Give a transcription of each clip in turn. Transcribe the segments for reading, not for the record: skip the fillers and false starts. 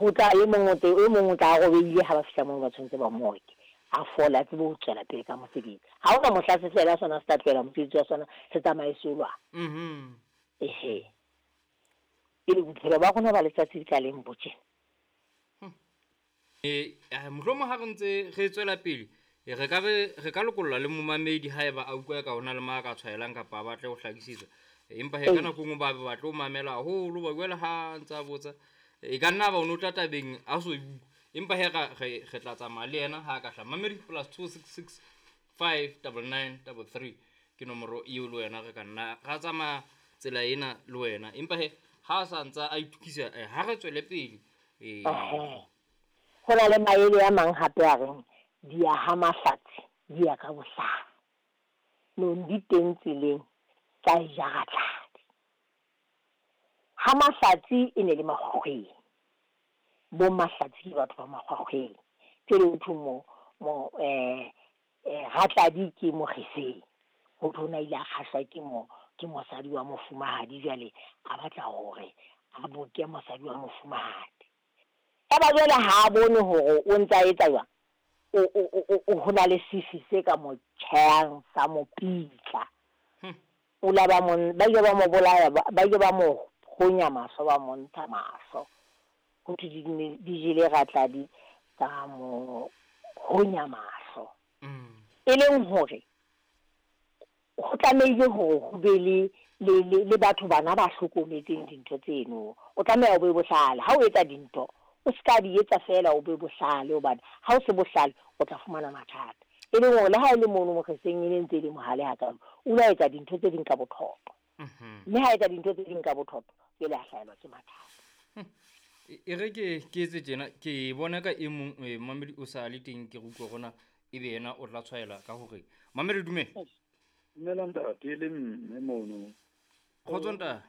Ho tla e mong o te, e mong o tla a robehile ha ba fihla mono ba tshwanetse ba mo oke, a fole a tsebe ho tswela pele ka mosebetsi. Ha hona mohla sefela sona se tla tlohela mosebetsi wa sona se tsamaye se yo lwana. Ehe. Pele bophelo ba rona ba letsatsi ka leng bo tjena. E, mohlomong ha re ntse re tswela pele, re ka be re ka lokolla le momamedi haeba a utlwa eka ho na le ma ka tshwaelang kapa a batle ho hlakisetswa. Empa he ka nako e nngwe ba be batle ho mamela haholo, ba jwale ha ntse a botsa, e ka nna ba o no tla tabeng a so e utlwe. Empa he re re tla tsamaya le yena ha a ka hlaha. Mamedi +266 599 33 ke nomoro eo le wena re ka nna ra tsamaya tsela ena le wena. Empa he ha a sa ntsa a itukisa, ha re tswele pele. Ee. Ho na le maele a mang hape a reng, Di ya ha mahlatsi, di ya ka bohlale. Nong di teng tseleng tsa e ja Ratladi. Ha mahlatsi e ne le makgwakgweng. Bo mahlatsi ke batho ba makgwakgweng. Jwale ho thwe mo, mo Ratladi ke Mokgeseng. Ho thwe o na ile a kgahlwa ke mo, ke mosadi wa mofumahadi jwale a batla hore a boke mosadi wa mofumahadi. Eba jwale ha a bone hore o ntse a etsa jwang, o, o, o, o, ho na le sefi se ka mo tjhehang sa mo pitla. O la ba mo, ba ile ba mo bolaya, ba ile ba mo honya mahlo, ba mo ntsha mahlo. Ho thwe di ne di jele Ratladi tsa mo honya mahlo. E leng hore ho tlamehile hore ho be le, le, le, le batho bana ba hlokometseng dintho tseno. O tlameha o be bohlale. Ha o etsa dintho, o ska di etsa feela, o be bohlale, hobane ha o se bohlale, o tla fumana mathata. E leng hore le ha e le mono Mokgeseng e ne ntse e le mohale hakalo, o ile a etsa dintho tse ding ka bothoto. Mme ha etsa dintho tse ding ka bothoto, jwale a hlahelwa ke mathata. E re ke ke etse tjena, ke bona ka e mong mamedi o sa le teng, ke re utlwe rona ebe yena o tla tshwaela ka hore mamedi dumela. Dumela ntate le mme mono. Kgotso ntate.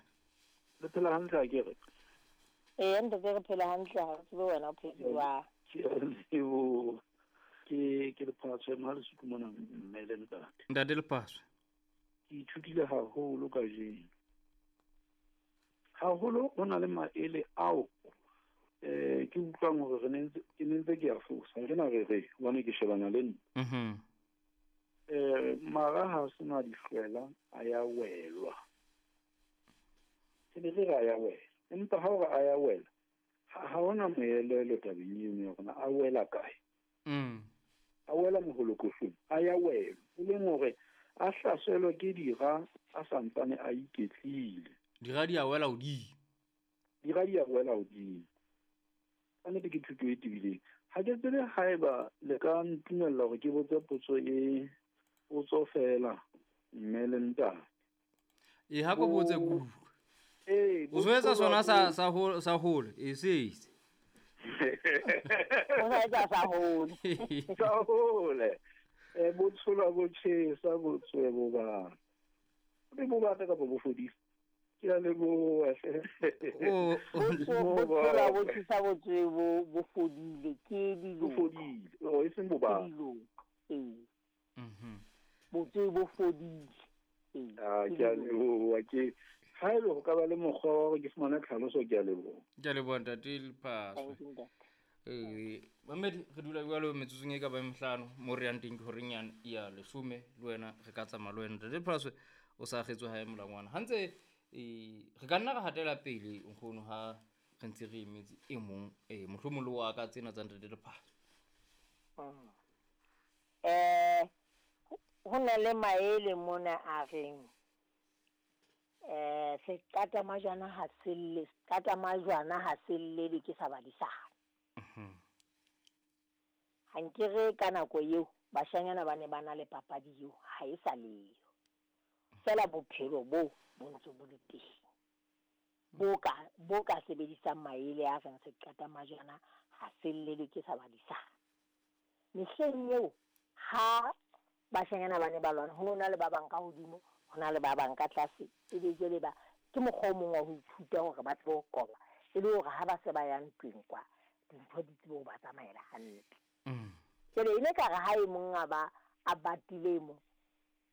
Le phela hantle a ke re? Ee ntate re phela hantle, ha re tsebe wena o phetse jwang. Ke a leboha. Ke ke Lephatswe ma Lesotho mona mme le ntate. Ntate Lephatswe. Ke ithutile haholo kajeno. Haholo ho na le maele ao ke utlwang hore re ne ntse ke ne ntse ke a fosa. Ke na re re hobane ke shebana le nna. Mara ha sena dihlwela a ya welwa. Ke ne re re a ya wela. Empa ha o re a ya wela, ha hona moelelo tabeng eno ya rona a wela kae. A wela moholokohlong, a ya wela. E leng hore a hlaselwe ke dira a santsane a iketlile. Dira di a wela hodimo. Dira di a wela hodimo. Ka nnete ke thuto e tebileng. Ha ke tsebe haeba le ka ntumella hore ke botse potso e potso fela mme le ntate. E ha ko botse kudu. Ee, O so etsa sona sa sa ho sa hole, e se se. O sa etsa sa hole. Sa hole. Bo tshola bo tjhesa bo tswe bo bata. Be bo bata kapa bo fodisa. Ke a leboha hle. O Bo tshola bo tjhesa bo tswe bo bo fodile ke Bo dilotho. fodile. Oh, e seng bo Ke bata. dilotho. Ee. Botswe bo fodile. Ee. Ah, ke a leboha ke haebe ho ka ba le mokgwa wa hore ke fumane tlhaloso, ke a leboha. Ke a leboha ntate Lephatswe. Thank you ntate. Mamedi re dula jwalo metsotsong e ka bang mehlano mo re yang teng ke horeng ya leshome le wena re ka tsamaya le wena ntate Lephatswe o sa akgetswe hae molangwana. Ha ntse re ka nna ra hatela pele nkgono ha re ntse re emetse e mong mohlomong le wa ka tsena tsa ntate Lephatswe. Ho na le maele mona a reng seqata majwana ha se lle, seqata majwana ha se llele ke sa badisana. Ha nkere ka nako eo bashanyana ba ne ba na le papadi eo ha e sa leyo. Fela bophelo bo bo ntse bo le teng. Bo ka bo ka sebedisang maele a reng seqata majwana ha se llele ke sa badisana. Mehleng eo ha bashanyana ba ne ba lwana, ho no na le ba bang ka hodimo, ho na le ba bang ka tlase. Ebe jwale ba ke mokgwa o mong wa ho ithuta hore ba tsebe ho qoba, e le hore ha ba se ba ya ntweng kwa, dintho di tsebe ho ba tsamaela hantle. Jwale e ne ka re ha e mong a ba a batile e mong,